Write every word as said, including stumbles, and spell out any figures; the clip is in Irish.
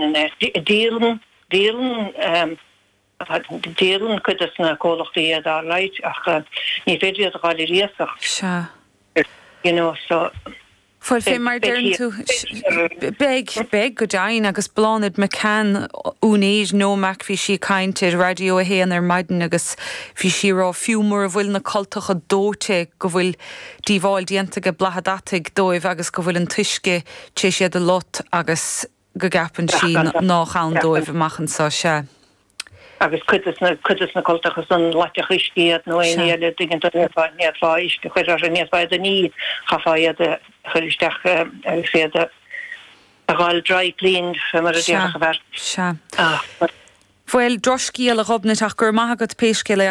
Díolann díolann díolann cuid de na comhlachtaí iad alright ach ní féidir iad a fháil ar iasacht. Sea. You know, so Bhuel fé mar deireann tú beidh beidh go deimhin agus Bláthnaid McCann úinéir NOMAC bhí sí ag caint ar Raidió a haon ar maidin agus bhí sí ag rá fiú mura bhfuil na cultacha dóite go bhfuil díobháil déanta ag bladhmha deataigh dóibh agus go bhfuil an t-uisce tar éis iad a lot agus go gceapann sí nach ann dóibh amach anseo sea. agus cuid na cuid na cultacha san loiteadh uisce iad nó aon eile tuigeann tú n'fhéadfá uisce a chur orthu n'fhéadfá iad a ní chaithfeá iad a chur isteach agus iad a fháil dry cleaned mar a déarfadh a bheart. Sea. Bhuel drochscéal a Ghobnait ach go raibh maith agat pé scéal é